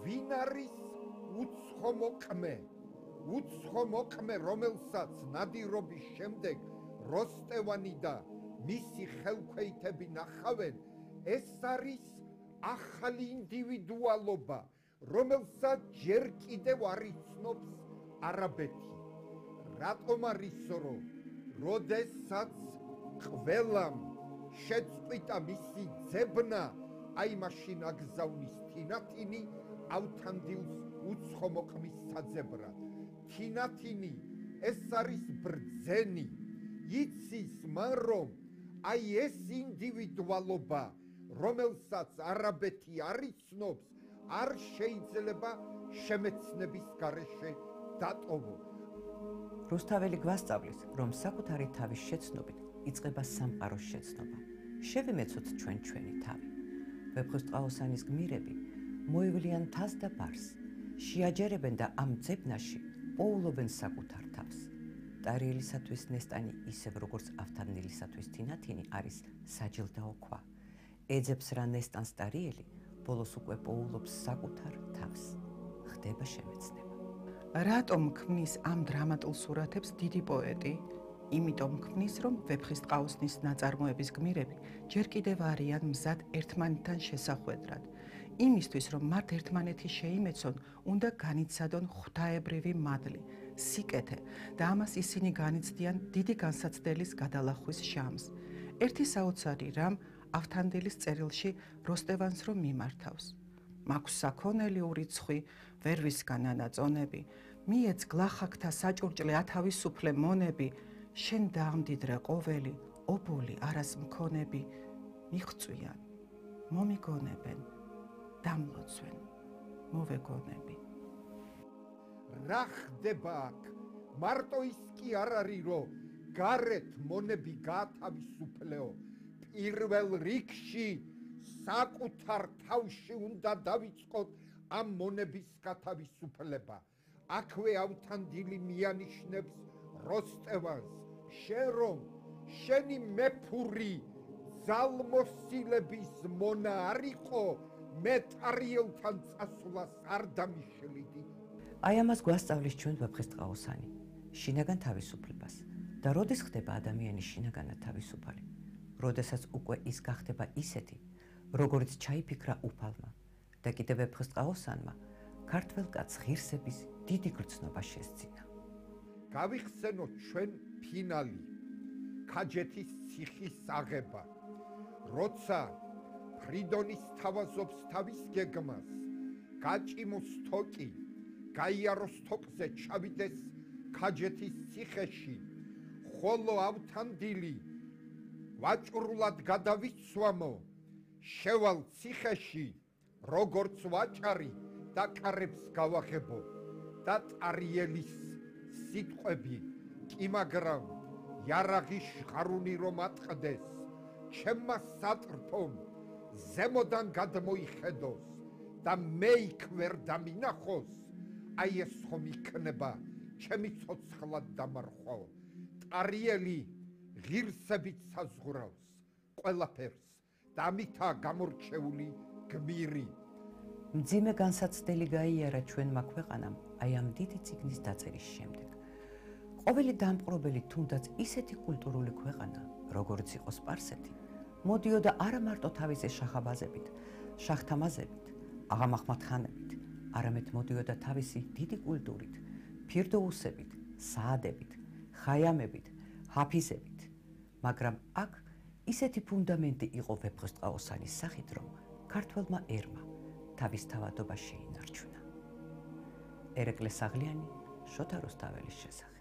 ვინ არის უცხო მოყმე, რომელსაც ნადირობის შემდეგ როსტევანი და მისი ხელქვეითები ნახავენ, ეს არის ახალი ინდივიდუალობა, რომელსაც ჯერ კიდევ არ იცნობს არაბეთი. რატომ არის, რომ როდესაც ყველამ შეწყვიტა მისი ძებნა, აი მაშინ აგზავნის თინათინი ავთანდილს უცხო მოყმის საძებრად. თინათინი ეს არის ბრძენი, იცის მან, რომ აი ეს ინდივიდუალობა, რომელსაც არაბეთი არ იცნობს, არ შეიძლება შემეცნების გარეშე დატოვო. რუსთაველი გვასწავლის, რომ საკუთარი თავის შეცნობით იწყება სამყაროს შეცნობა. შევიმეცოთ ჩვენი თავი. ვეფხისტყაოსანის გმირები მოივლიან თას და ბარს, შეაჯერებენ და ამ ძებნაში პოულობენ საკუთარ თავს. ტარიელისათვის ნესტანი, ისევ როგორც ავთანდილისათვის თინათინი, არის საჯილდაო ქვა. ეძებს რა ნესტანს ტარიელი, ბოლოს უკვე პოულობს საკუთარ თავს. ხდება შემეცნება. რატომ ქმნის ამ დრამატულ სურათებს დიდი პოეტი? იმიტომ ქმნის, რომ ვეფხისტყაოსნის ნაწარმოების გმირები ჯერ კიდევ არიან მზად ერთმანეთთან შესახვედრად. იმისთვის, რომ მათ ერთმანეთი შეიმეცონ, უნდა განიცადონ ღვთაებრივი მადლი, სიკეთე და ამას ისინი განიცდიან დიდი განსაცდელის გადალახვის ჟამს. ერთი საოცარი რამ ავთანდილის წერილში როსტევანს რომ მიმართავს. მაქვს საქონელი ურიცხვი, ვერ ვისგან ანაწონები, მიეც გლახაკთა საჭურჭლე ათავისუფლე მონები, შენ დაამდიდრე ყოველი, ობოლი არას მქონები, მიღწვიან, მომიგონებენ, დამლოცვენ, მოვეგონები. რა ხდება აქ? მარტო ის კი არ არის, რომ გარეთ მონები გაათავისუფლეო, პირველ რიგში საკუთარ თავში უნდა დავიწყოთ ამ მონების გათავისუფლება. აქვე ავთანდილი მიანიშნებს როსტევანს, შენ რომ შენი მეფური ძალმოსილების მონა არ იყო, მე ტარიელთან წასვლას არ დამიშლიდი. აი ამას გვასწავლის ჩვენ ვეფხისტყაოსანი, შინაგან თავისუფლებას. და როდის ხდება ადამიანი შინაგანად თავისუფალი? როდესაც უკვე ის გახდება ისეთი, როგორც ჩაიფიქრა უფალმა და კიდევ ვეფხისტყაოსანმა ქართველ კაცს ღირსების დიდი გრძნობა შესძინა. გავიხსენოთ ჩვენ ფინალი, ქაჯეთის ციხის აღება. როცა ფრიდონის თავაზობს თავის გეგმას, გაჭიმოს თოკი, გაიაროს თოკზე ჩავიდეს ქაჯეთის ციხეში, ხოლო ავთანდილი ვაჭრულად გადავიცვამო, შევალ ციხეში, როგორც ვაჭარი და კარებს გავაღებო და ტარიელის სიტყვები კი მაგრამ იარაღის ღარუნი რომ ატყდეს, ჩემმა სატრფომ ზემოდან გადმოიხედოს და მე იქ ვერ დამინახოს, აი ეს ხომ იქნება ჩემი ცოცხლად დამარხვაო. ტარიელი ღირსებით საზღვრავს ყველაფერს და ამითაა გამორჩეული გმირი. მძიმე განსაცდელი გაიარა ჩვენმა ქვეყანამ აი ამ დიდი წიგნის დაწერის შემდეგ. ყოველი დამპყრობელი თუნდაც ისეთი კულტურული ქვეყანა, როგორც იყო სპარსეთი, მოდიოდა არა მარტო თავისი შახაბაზებით, შახთამაზებით, აღამაჰმად ხანებით, არამედ მოდიოდა თავისი დიდი კულტურით, ფირდოუსებით, საადებით, ხაიამებით, ჰაფიზებით. მაგრამ აქ ისეთი ფუნდამენტი იყო ვეფხისტყაოსანის სახით, რომ ქართველმა ერმა თავის თავადობა შეინარჩუნა. ერეკლე საღლიანი, შოთა რუსთაველის შესახებ.